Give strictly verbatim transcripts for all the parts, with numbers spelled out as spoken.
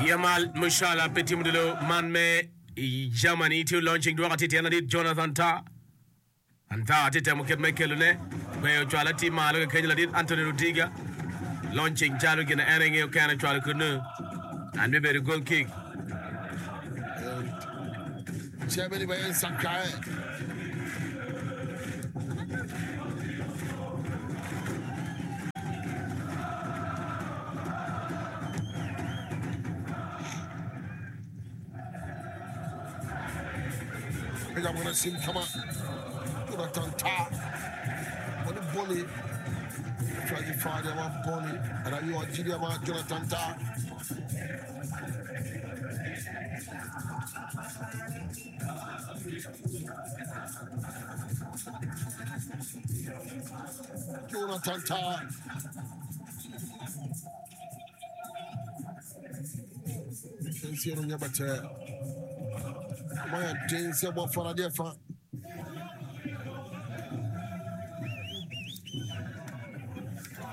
Yamal Musiala pe timo dilo man me i Germany tye launching dwoko atir tyen ladit Jonathan Tah. Tah tye temo kit me kelone gweyo cwalo atir malo ki kenyo ladit Anthony Rudiger launching calo gin en engeyo kene cwalo kunu and bibedo goal kick. Germany bɛyɛ nsakraeɛ. Pagya wɔn asim kama. Jonathan Tah wɔne bɔne atwa fa de ama bɔne ɛna yɛ ɔgye de ama Jonathan Tah. Jonathan Tah. Nsuo no nyɛ bɛtɛɛ. Wɔayɛ den sɛ bɔfra adeɛ fa.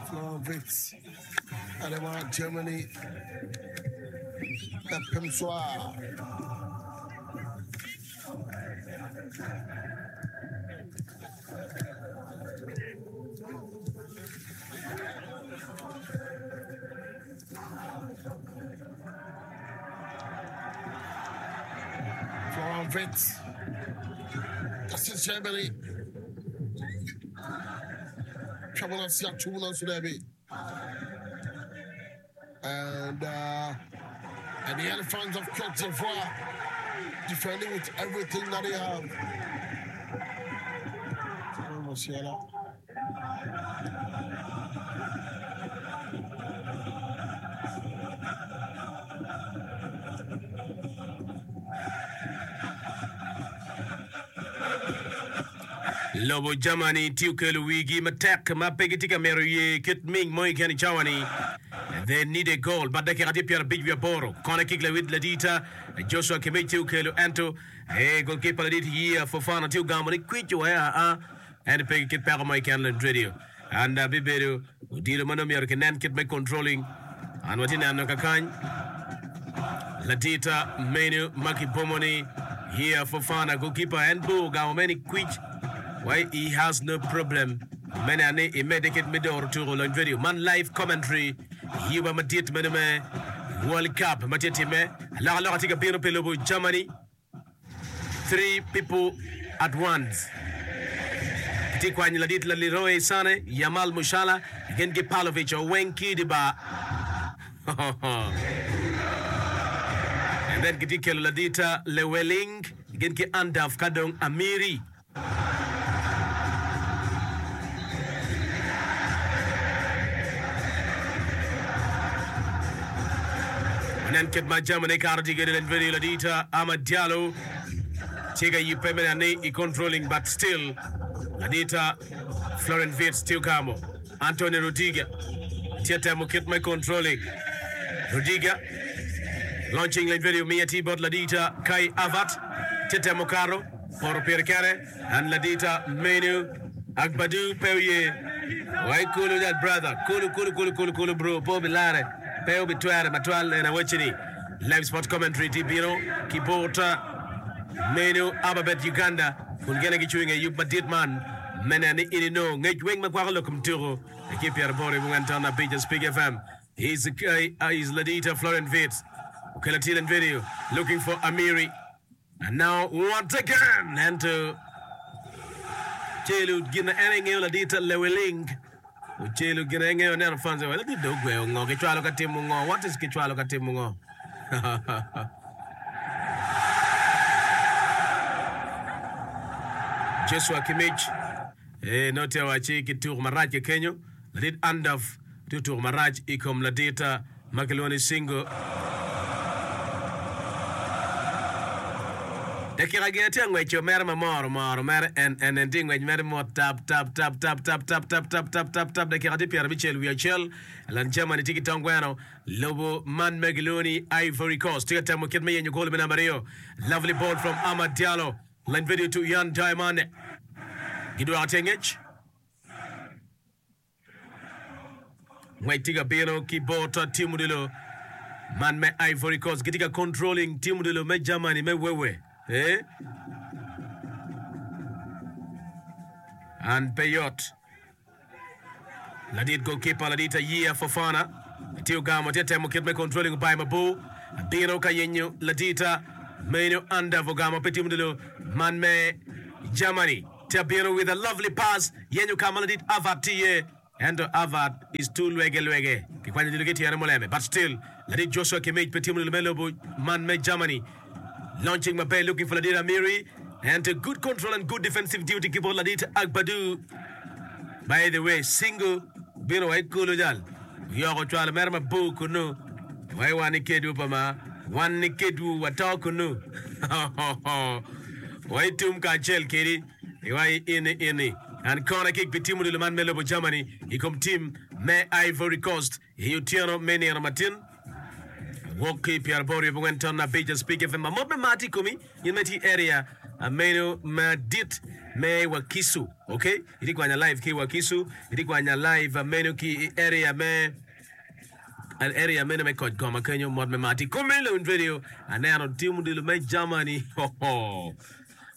Florian Wirtz ɛde ma Germany ɛpem so a. Florian Wirtz. Das ist Germany. Trouble us, yeah, two And uh, and the Elephants of Cote d'Ivoire defending with everything that they have. Musiala. Lobo Germany tye okelo wigi matek ma pe gitye ka mito ye kit ming mo keken i cawa-ni. They need a goal but dakika tye pyerabic wiye aboro. Kone kik lawit ladita Joshua Kimmich tye okelo ento eh, goalkeeper ladit Yia Fofana tye ogamo ni kwic wa aa ento pe ki kit peko mo keken Lent Radio and uh, bibedo odilo ma nongo myero kinen kit me controlling and watye neno kakany ladita menu ma kibomo ni Yia Fofana goalkeeper en bo ogamo me ni kwic why he has no problem mene ni imedde kit me doro tuko Lony Radio man live commentary yuba madit meno me World Cup ma tye time alokaloka tye ka bino pi lobo Germany three people at once tye kwanyo ladit la Leroy Sane Yamal Musiala gin ki Pavlovic oweng kidi ba and then gitye kelo ladita Leweling gin ki Undav ka dong Amiri Nen kit ma Germany kato tye kwede Leny ladita Amad Diallo tye ka yubbe me neno ni i controlling but still ladita Florian Wirtz tye ogamo Antonio Rudiger tye temo kit me controlling Rudiger launching Leny video miye tye bot ladita Kai Havertz tye temo kato poto pire kene and ladita Menu Agbadu pe oye wai kulu that brother kulu kulu kulu kulu kulu bro po bilare pe obitwere matwal en awacci ni live sport commentary tye bino ki bot Menu Ababet Uganda kun gene gicung i yub madit man me neno ni in inongo ngec weng ma kwako lok kom tuko ki pyeraboro i bungwen ton abic Spik FM is, uh, is Ladita Florian Wirtz okelo Tilen video looking for Amiri and now once again ento celo gin en engeyo ladita Leweling ocelo gin engeyo neno fans wa ladit do ogweyo ngo kicwalo ka timo ngo what is kicwalo ka timo ngo Joshua Kimmich eh no tye waci ki tuko marac ki kenyo ladit Undav tye otuko marac i kom ladita ma kilwongo ni Singo dakika gin tye angweco mere ma moro moro mere en en en tye ngwec mere mot tap tap tap tap tap tap tap tap tap tap tap dakika tye pyerabicel wiye acel lan Germany tye ki tong gweno lobo man ma gilwongo ni Ivory Coast tye ka temo kit me yenyo gol me namba aryo lovely ball from Amad Diallo line video to Yan Diamond gidwoko tye ngec ngwec tye ka bino ki bot timo odilo Man me Ivory Coast gitye ka controlling team odilo me Germany me wewe. Eh? An pe yot. Ladit goalkeeper ladit Ayia Fofana tye ogamo tye temo kit me controlling obayo mabor bino ka yenyo ladita meno Undav ogamo pe team odilo man me Germany tye bino with a lovely pass yenyo ka ma ladit Havertz tye iye ento Havertz is too lwege lwege kikwanyo odilo ki tyene muleme but still ladit Joshua Kimmich pe team odilo me lobo man me Germany launching maber looking for ladit Amiri and a good control and good defensive duty ki bot ladit Agbadou. By the way, single bino wa i kulu jal oyoko cwalo mere mabor kunu wai wan i kedwu pa ma wan ni kedwu wato kunu wai tum kacel kedi iwai ini ini and corner kick pi team odilo man me lobo Germany i kom team me Ivory Coast i otyeno me nino matin wok ki pyeraboro wiye abongwen ton abic Speak F M mamot me mar tye i komi in ma itye i area meno madit me Wakiso okay itye kwanya live ki Wakiso itye kwanya live meno ki i area me area meno me koc goma kenyo mot me mar tye i komi Lewin Radio aneno team odilo me Germany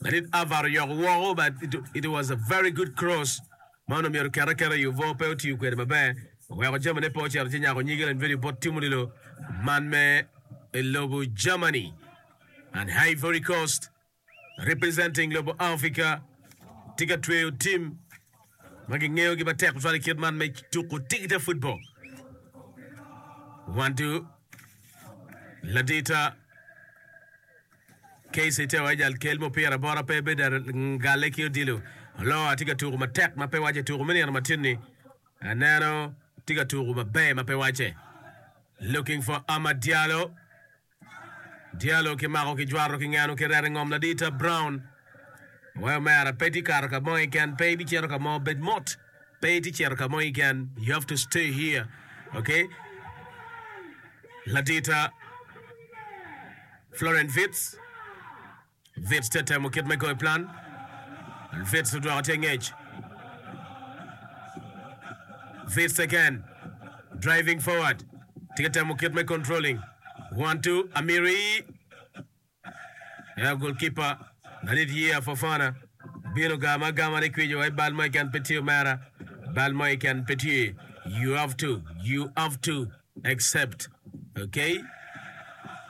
ladit Alvaro oyoko woko but it, it was a very good cross ma onongo myero oket aketa i obwo pe otiyo kwede maber oweko jamine pe ocito ci nyako nyige Lewin Radio bot team odilo man me lobo Germany and Ivory Coast representing lobo Africa tye ka tweyo team ma gingeyogi matek tutwal i kit man me tuko tigita football. One two ladita Casey te ejal kel mupira bota pe bedo galle ki odilo oloa tye ka tuko matek ma pe wace tuko me nino matin-ni aneno tye ka tuko maber ma pe wace looking for Amad Diallo Diallo kimako kijwato kingeno kireto i ngom ladita Brown wai omera pe tye kato ka mo keken pe ibicito ka mo bed mot pe itye cito ka mo keken you have to stay here okay ladita Florent Wirtz Wirtz tye temo kit me goyo plan Wirtz odwoko tye ngec Wirtz again driving forward tye ka temo kit me controlling one two Amiri yeah, goalkeeper ladit Yia Fofana bino gama agama ni kwico wai bal mo keken pe tye omera bal mo keken pe tye you have to you have to accept okay